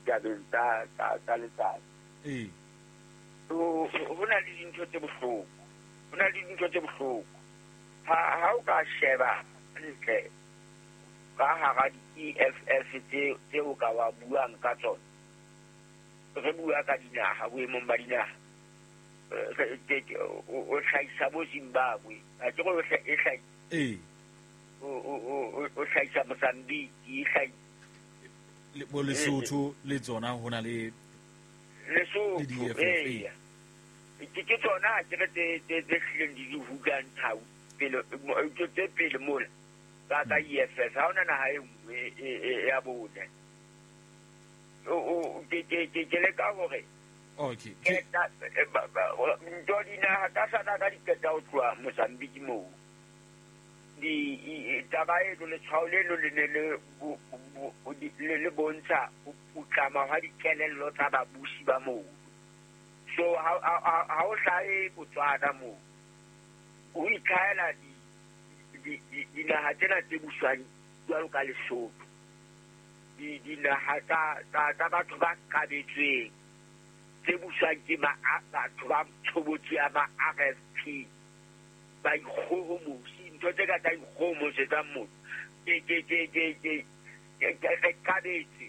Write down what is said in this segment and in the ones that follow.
Ditabeng tsa letsatsi. Ee. Ho na le dintho tse bohloko. Ho na le dintho tse bohloko. Ha o ka sheba ntle ka hara di-EFF tse o ka wa buang ka tsona. Re bua ka dinaha, boemong ba dinaha. O hlahisa bo Zimbabwe. A ke re e hlahisa. Ee. O hlahisa Mozambique, e hlahisa. Bo Lesotho le tsona ho na le Lesotho, ee. Ke tsona ke re tse hlileng di di hulang thau pele, tse pele mola ka EFF. Ha hona naha e nngwe ya bone. Ke leka hore okay. Ntho dinaha tsa South Africa di qeta ho tloha Mozambique moo. Taba eno, letshwao leno le ne le bontsha ho putlama hwa dikelello tsa babusi ba moo. So ha o hlahe Botswana moo, ho itlhahela dinaha tsena tse buswang jwalo ka Lesotho. Dinaha tsa batho ba qabetsweng tse buswang ke batho ba tshobotsi ya ma RFP, ba ikgohomosi, ntho tse ka tsa ikgohomosetsang motho. Re qabetse.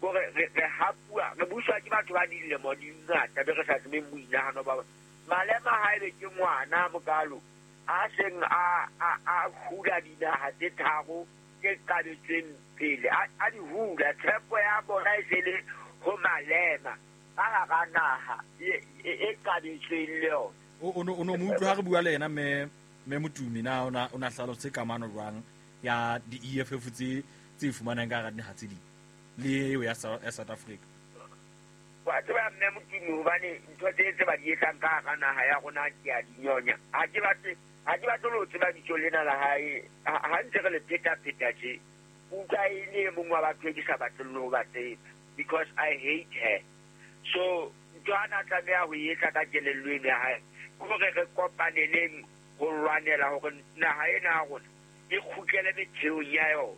Kore re hapuwa, re buswa ke batho ba dilemo di ngata be re sa tsebeng boinahano ba bona. Malema ha ebe ke ngwana mokalo a seng a hula dinaha tse tharo tse qabetsweng pele, a di hula. Tshepo ya bona e se le ho Malema ka hara naha e qabetsweng le yona. O no mo utlwa ha re bua le yena mme Motumi, na o na hlalose kamano jwang ya di-EFF tse fumanang ka hara dinaha tse ding le eo ya South Africa? Wa tseba mme Motumi, hobane ntho tse ba di etsang ka hara naha ya rona ke a di nyonya. Ha ke batle ho tseba bitso lena la hae. Ha ntse re le pheta-pheta tje, utlwa e le e mong wa batho e ke sa batleng le ho ba tseba, because I hate her. So ntho ana tlameha ho etsa ka kelello eno ya hae ke hore re kopaneleng ho lwanela hore naha ena ya rona e kgutlele metheong ya yona.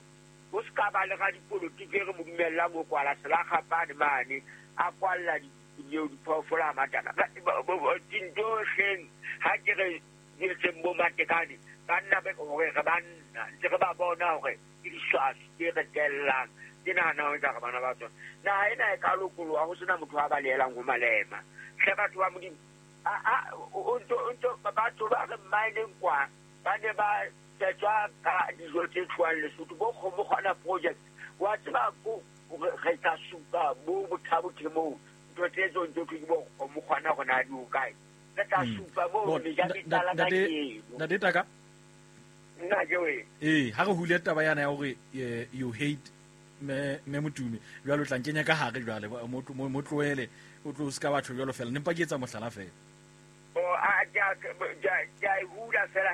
Ho se ka ba le radipolotiki e re mo dumellang ho kwala selakgapane mane, a kwalla diphoofolo a matana. Dintho hleng ha ke re di etseng bo Matekane, banna be hore re banna, ntse re ba bona hore ke diswasi tse re tellang, ke nahana ho etsa re bana ba tsona. Naha ena e ka lokoloha ho sena motho a balehelang ho Malema. Hle batho ba Modimo, batho ba re mmineng kwa, ba ne ba tsetswa ka dijo tse tlohang Lesotho, bo Kgomokgwana project. Wa tseba ko re tla supa bo bothabothe moo, ntho tse tsong tse thwe ke bo Kgomokgwana hore na di ho kae. Re tla supa moo meja metlala ka keno. Ntate Taka. Nna ke wena. Ee, ha re hule taba yana ya hore you hate me Motumi, jwale o tla nkenya ka hare jwale, mo tlohele, o tlo se ka batho jwalo fela, nempa ke etsa mohlala fela. Ke a e hula fela,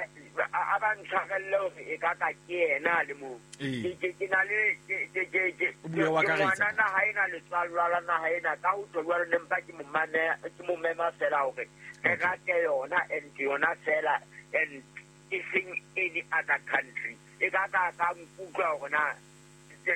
a ba ntshwarelle hore e ka ka ke yena le moo. Ke na le, ke O bua wa ka ngwana naha ena, letswalo la naha ena, ka ho tjho jwalo nempa ke mo mema fela hore re rate yona and yona fela and e seng any other country. E ka ka nkutlwa hore na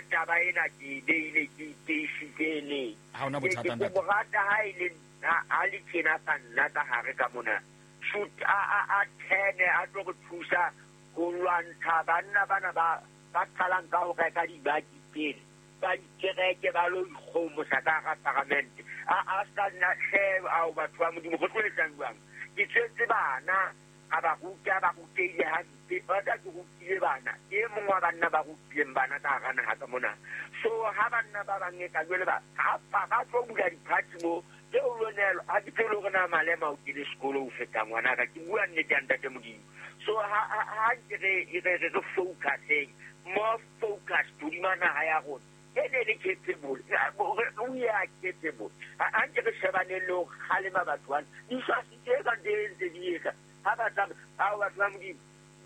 taba ena ke e beile, ke iteisitse neng. Ha hona bothata, ntate. Ke mo rata ha e le ha le tjena ka nna ka hare ka mona. Shoot, a thene, a tlo re thusa ho lwantsha banna bana ba qalang ka ho reka dibaki pele, ba dikereke ba lo ikgomosa ka hara paramente. A sa nna hle, ao batho ba Modimo, re tlo etsang jwang? Ke tswetse bana, a ba ruta, ba rutehile hampe. Ba tla ke rutile bana, ke e mong wa banna ba rutileng bana ka hara naha ka mona. So ha banna ba bang e ka jwale ba, ha ba tlo bula di-party mo, tseo lo neelwa, ha ke tsebe le hore na Malema o kene sekolo ho feta ngwanaka, ke bua nnete ya ntate Modimo. So ha nke re focuseng, more focused hodima naha ya rona. E ne le capable, we are capable. Ha nke re shebaneng le ho kgalema batho bana. Diswasi tse ka tse ntse di etsa, ha ba tsamaya, ao batho ba Modimo,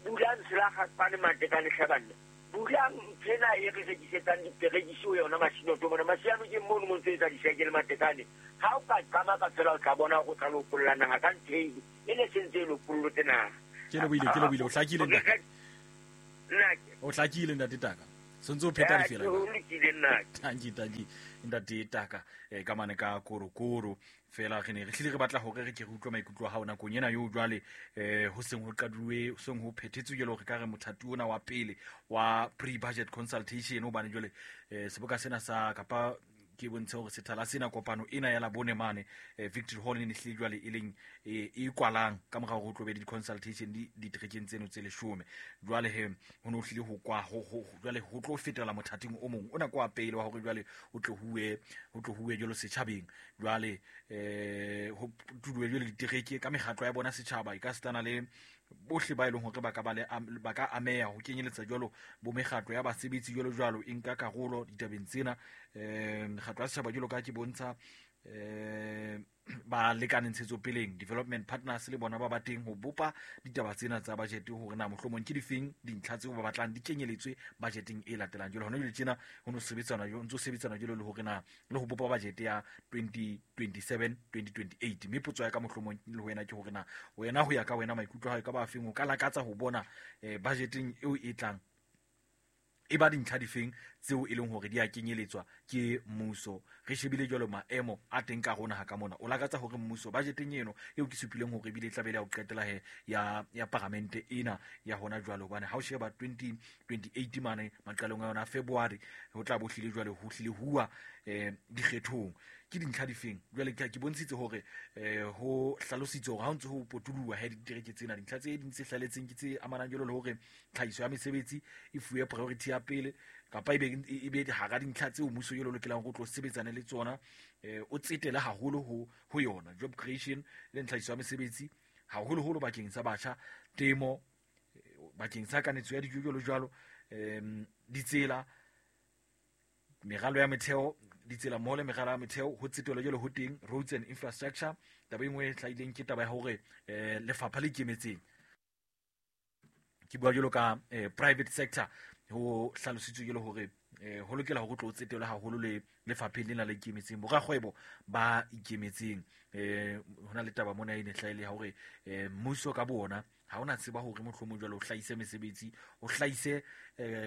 bulang selakgapane Matekane hle banna. Bulang nthwena e re rekisetsang diperekisi ho yona Masinoto mona. Masiano ke mono mo ntse etsa disekele Matekane. Ha o ka qamaka fela o tla bona hore o tla lopolla naha ka ntho eno. E ne se ntse e lopollotse naha. Ke lebohile, o hlakile ntate. O hlakile ntate Taka. Sontse o pheta difela. Ho lokile nna. Tanki ntate Taka ka mane ka korokoro fela re ne re hlile re batla hore re ke re utlwe maikutlo a hao nakong ena eo jwale ho seng ho qaduwe, ho seng ho phethetswe jwale hore ka re mothati ona wa pele wa pre-budget consultation, hobane jwale seboka sena sa kapa ke bontshe hore sethala sena kopano ena ya Labone mane Victory Hall e ne hlile jwale e leng e kwalang ka mora hore ho tlo be le di-consultation diterekeng tseno tse 10. Jwale he ho no hlile ho kwa ho jwale ho tlo fetela mothating o mong ona kwa pele wa hore jwale ho tlo huwe jwalo setjhabeng. Jwale ho tuduwe jwale ditereke ka mekgatlo ya bona setjhaba e ka setana le bohle ba e leng hore ba ka ba le ba ka ameha ho kenyeletsa jwalo bo mekgatlo ya basebetsi jwalo jwalo e nka karolo ditabeng tsena. Mekgatlo ya setjhaba jwalo ka ke bontsha ba lekane ntshetsopeleng development partners le bona ba ba teng ho bopa ditaba tsena tsa budget hore na mohlomong ke difeng dintlha tseo ba batlang di kenyeletswe budgeteng e latelang. Jwale hona jwale tjena ho no sebetsana jo ntso sebetsana jwalo le hore na le ho bopa budget ya 2027 2028. Mme potso ya ka mohlomong le wena ke hore na wena ho ya ka wena maikutlo a hao ka ba feng o ka lakatsa ho bona budgeteng eo e tlang e ba dintlha difeng tseo e leng hore di a kenyeletswa ke mmuso. Re shebile jwalo maemo a teng ka rona ha ka mona, o lakatsa hore mmuso budgeteng eno eo ke supileng hore ebile e tla be le ya ho qetela he ya paramente ena ya hona jwalo, hobane ha o sheba 2028 mane maqalong a yona February ho tla bo hlile jwale ho hlile huwa dikgethong. Ke dintlha difeng jwale ke bontshitse hore ho hlalositse hore ha o ntse ho potuluwa he ditereke tsena dintlha tse ding tse hlaletseng ke tse amanang jwalo le hore tlhahiso ya mesebetsi e fuwe priority ya pele kapa e be hara dintlha tseo mmuso jwalo lokelang ho tlo sebetsana le tsona, o tsetele haholo ho yona job creation le tlhahiso ya mesebetsi haholoholo bakeng sa batjha, temo bakeng sa kanetso ya dijo jwalo jwalo, ditsela, meralo ya metheo, ditsela mmoho le meralo ya metheo ho tsetelwa jwalo ho teng roads and infrastructure. Taba e nngwe e hlahileng ke taba ya hore lefapha le ikemetseng, ke bua jwalo ka private sector, ho hlalositswe jwalo hore ho lokela hore ho tlo tsetelwa haholo le lefapheng lena le ikemetseng, borakgwebo ba ikemetseng. Ho na le taba mona e ne hlahile ya hore mmuso ka bo ona ha ona tseba hore mohlomong jwalo o hlahise mesebetsi, o hlahise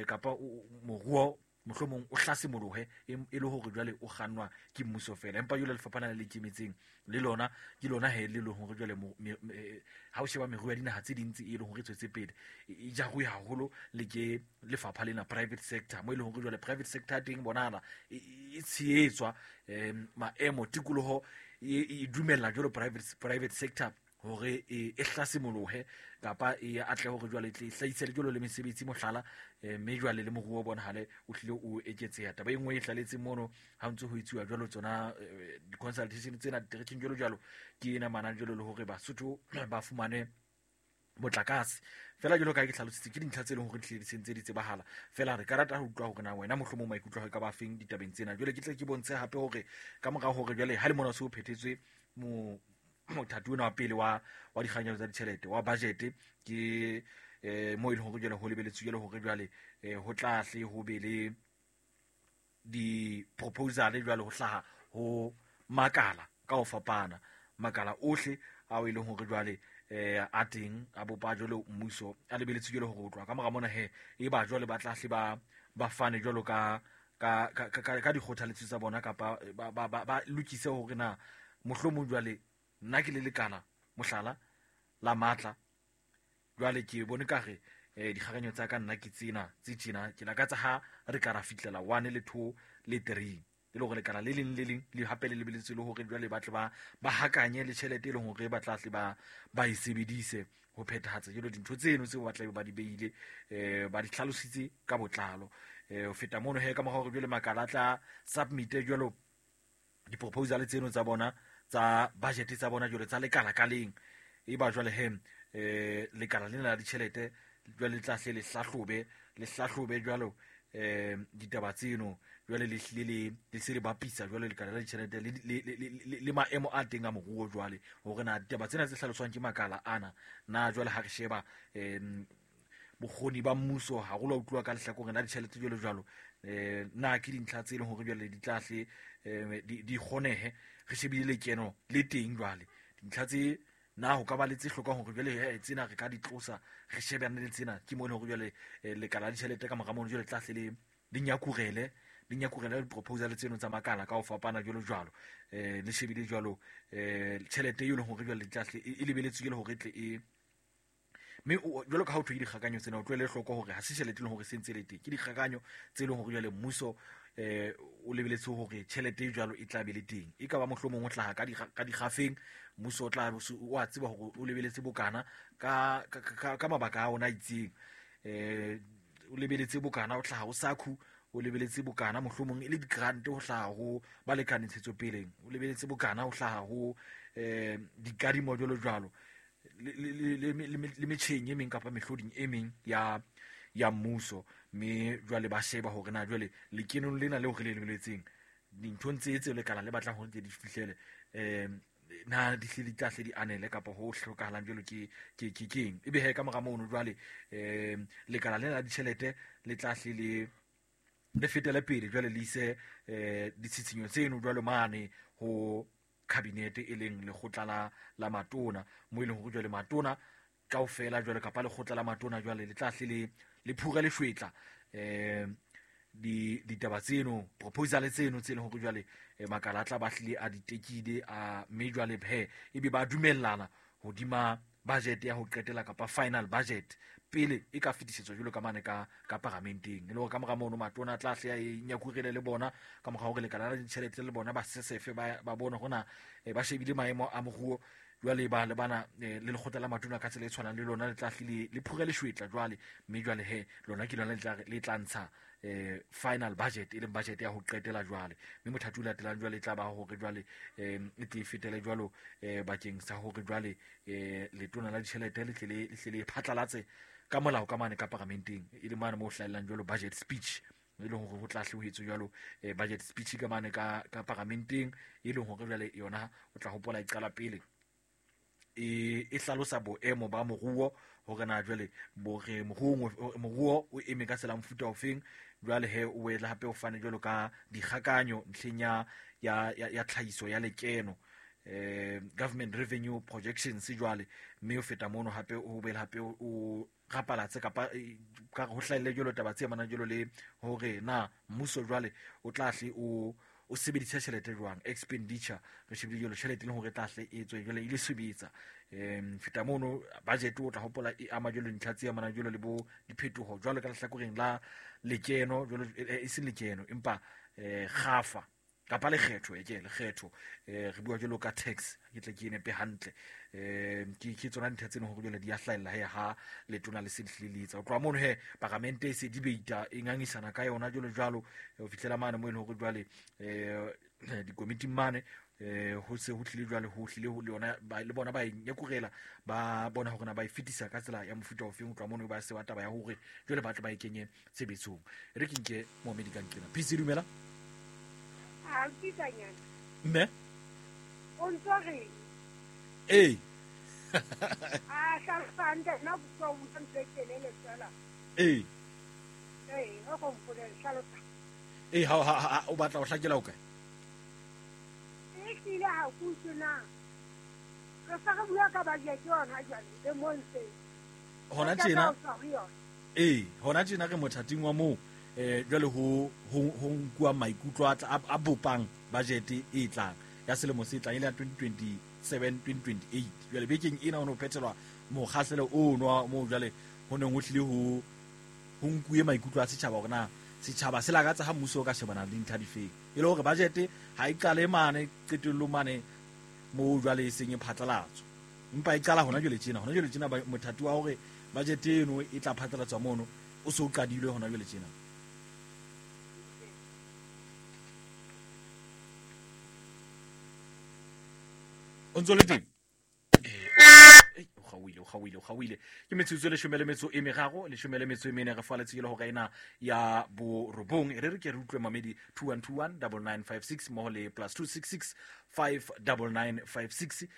kapa moruo mohlomong o hlasimolohe e le hore jwale o kgannwa ke mmuso fela, empa jwale lefapha lena le ikemetseng le lona ke lona he le leng hore jwale ha o sheba meruo ya dinaha tse ding tse e leng hore e tswetse pele e jaruwe haholo le ke lefapha lena private sector, mo e leng hore jwale private sector ya teng bonahala e tshehetswa maemo tikoloho e dumella jwalo private sector hore e hlasimolohe kapa e atle hore jwale e tle e hlahise le jwalo le mesebetsi mohlala, mme jwale le moruo o bonahale o hlile o eketseha. Taba e nngwe e hlaletseng mono ha ntse ho etsuwa jwalo tsona di-consultation tsena diterekeng jwalo jwalo ke ena manang jwalo le hore Basotho ba fumane motlakase fela jwalo ka ke hlalositse ke dintlha tse leng hore di hlile di sentse di tsebahala fela. Re ka rata ho utlwa hore na wena mohlomong maikutlo a hao e ka ba feng ditabeng tsena. Jwale ke tle ke bontshe hape hore ka mora hore jwale ha le mona se o phethetswe mothati ona wa pele wa dikganyelo tsa ditjhelete wa budget ke mo e leng hore jwale ho lebeletswe jwale hore jwale ho tla hle ho be le di-proposal jwale ho hlaha ho makala ka ho fapana, makala ohle ao e leng hore jwale a teng a bopa jwale mmuso a lebeletswe jwale hore ho tloha ka mora mona he e ba jwale ba tla hle ba fane jwalo ka dikgothaletso tsa bona kapa ba lokise hore na mohlomong jwale nna ke le lekala mohlala la matla jwale ke bone ka re dikgakanyo tsa ka nna ke tsena tse tjena ke lakatsa ha re ka ra fihlela 1 le 2 le 3 e le hore lekala le leng le leng le hape le lebeletswe le hore jwale ba tle ba hakanye le tjhelete e leng hore ba tla tle ba e sebedise ho phethahatsa jwalo dintho tseno tseo ba tla be ba di beile ba di hlalositse ka botlalo. Ho feta mono he ka mora hore jwale makala a tla submit jwalo di-proposal tseno tsa bona tsa budget tsa bona jwale tsa lekala ka leng, e ba jwale he lekala lena la ditjhelete jwale le tla hle le hlahlobe jwalo ditaba tseno jwale le hlile le se le bapisa jwale lekala la ditjhelete le maemo a teng a moruo jwale hore na ditaba tsena tse hlaloswang ke makala ana na jwale ha re sheba bokgoni ba mmuso haholo a utluwa ka lehlakoreng la ditjhelete jwalo jwalo na ke dintlha tse leng hore jwale di tla hle di kgonehe re shebile lekeno le teng jwale dintlha tse na ho ka ba le tse hlokang hore jwale tsena re ka di tlosa re shebane le tsena ke mo e leng hore jwale lekala la ditjhelete ka mora mono jwale tla hle di nyakurele di-proposal tseno tsa makala ka ho fapana jwalo jwalo, le shebile jwalo tjhelete eo e leng hore jwale e lebeletswe ke hore tle e mme jwalo ka ha o thwe dikgakanyo tsena o tlohele hloko hore ha se tjhelete e leng hore se ntse le teng, ke dikgakanyo tse leng hore jwale mmuso o lebeletse hore tjhelete e jwalo e tla be le teng. E ka ba mohlomong o hlaha ka dikgafeng, mmuso o tla o a tseba hore o lebeletse bokana ka mabaka a ona a itseng, o lebeletse bokana o hlaha o SACU, o lebeletse bokana mohlomong e le di-grant ho hlaha ho balekane ntshetsopeleng, o lebeletse bokana ho hlaha ho dikadimo jwalo jwalo le metjheng e meng kapa mehloding e meng ya mmuso. Mme jwale ba sheba hore na jwale lekenong lena leo re le lebeletseng dinthong tse lekala le batlang hore di fihlele, na di hle di tla hle di anele kapa ho hlokahalang jwalo ke keng. Ebe he ka mora mono jwale lekala lena la ditjhelete le tla hle le fetele pele jwale le ise ditshitshinyo tseno jwalo mane ho cabinet e leng lekgotla la matona, mo e leng hore jwale matona kaofela jwale kapa lekgotla la matona jwale le tla hle le phura leshwetla ditaba tseno, proposal tseno tse leng hore jwale makala a tla ba hlile a di tekile a, mme jwale he ebe ba dumellana hodima budget ya ho qetela kapa final budget pele e ka fetisetswa jwalo ka mane ka paramenteng. E le hore ka mora mono matona a tla hle a e nyakurele le bona ka mora hore lekala la ditjhelete le bona ba sesefe ba bone hore ba shebile maemo a moruo jwale ba le bana le lekgotla la matona ka tsela e tshwanang le lona le tla hle le phure leshwetla jwale, mme jwale he lona ke lona le tla ntsha final budget e leng budget ya ho qetela jwale. Mme mothati o latelang jwale e tla ba hore jwale e tle e fetele jwalo bakeng sa hore jwale letona la ditjhelete le tle le phatlalatse ka molao ka mane ka paramenteng, e le mane mo hlahellang jwalo budget speech, e leng hore ho tla hle ho etswe jwalo budget speech ka mane ka paramenteng, e leng hore jwale yona o tla hopola e qala pele e hlalosa boemo ba moruo hore na jwale bore moruo o eme ka tsela mofuta ofeng, jwale he o wela hape o fane jwalo ka dikgakanyo ntlheng ya tlhahiso ya lekeno, government revenue projections jwale, mme o feta mono hape o bele hape o rapalatse kapa ka ho hlahelle jwalo taba tse amanang jwalo le hore na mmuso jwale o tla hle o sebedisa tjhelete jwang, expenditure re shebile jwalo tjhelete le hore tla hle e tswe jwale e le sebetsa. Feta mono budget o tla hopola e ama jwalo dintlha tse amanang jwalo le bo diphetoho jwalo ka lehlakoreng la lekeno jwalo e seng lekeno empa kgafa kapa lekgetho, ke lekgetho re bua jwalo ka tax, ke tle ke nepe hantle, ke tsona dintlha tseno hore jwale di a hlahella he ha letona le se le letsa. O tloha mono he paramente e se debate e ngangisana ka yona jwalo jwalo ho fihlela mane mo e leng hore jwale dikomiting mane ho se ho tlile jwale ho hlile le yona le bona ba e nyakurela ba bona hore na ba e fetisa ka tsela ya mofuta ofeng. Ho tloha mono ba se ba taba ya hore jwale ba tle ba e kenye tshebetsong. E re ke nke Mohamedi ka nqena. Peace, dumela. Mme o ntso re ee a hlalosa nna bua o ntse kelele fela ee ee o go mpolella hlalosa ee ha o batla ho hlakela o kae? E hlile ha ku tsena re sa re bua ka budget yona jwale le montse hona tjena ee hona tjena re mothating wa moo jwale ho nkuwa maikutlo a bopang budget e tlang ya selemo se tlang e le ya 2027 2028. Jwale bekeng ena ho no phethelwa mokgahlelo ono moo jwale ho neng ho hlile ho nkuwe maikutlo a setjhaba hore na setjhaba se lakatsa ha mmuso o ka shebana le dintlha difeng, e le hore budget ha e qale mane qetellong mane moo jwale e seng e phatlalatswa, empa e qala hona jwale tjena. Hona jwale tjena mothati wa hore budget eno e tla phatlalatswa mono o se o qadilwe hona jwale tjena. O ntso le teng? O kgaohile. Ke metsotso e 13 14 re faletse ke le hora ena ya borobong. E re ke re utlwe mamedi 2121 9956 mmoho le +266 59956.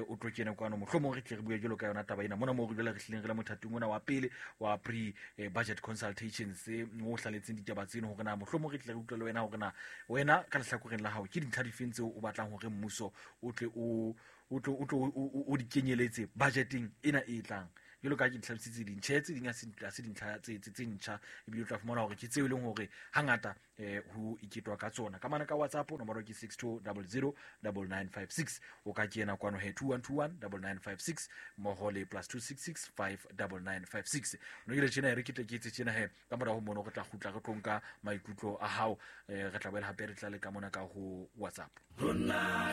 O tlo kena kwano mohlomong re tle re bue jwalo ka yona taba ena mona moo re jwale re hlileng re le mothating ona wa pele wa pre budget consultations mo hlaletseng ditaba tseno hore na mohlomong re tle re utlwe le wena hore na wena ka lehlakoreng la hao ke dintlha difeng tseo o batlang hore mmuso o tle o di kenyeletse budgeting ena e tlang Jwalo ka ha ke di tlhalositse dintjhe tse ding ha se dintlha tse ntjha, ebile o tla fumana hore ke tseo e leng hore hangata ho iketwa ka tsona. Ka mane ka WhatsApp nomoro ke 62009956, o ka kena kwano he 21219956 mmoho le +266 59956. No ile tjena re ke tle ke etse tjena he, ka mora ho mono re tla kgutla re tlo nka maikutlo a hao, re tla boela hape re tla le ka mona ka ho WhatsApp.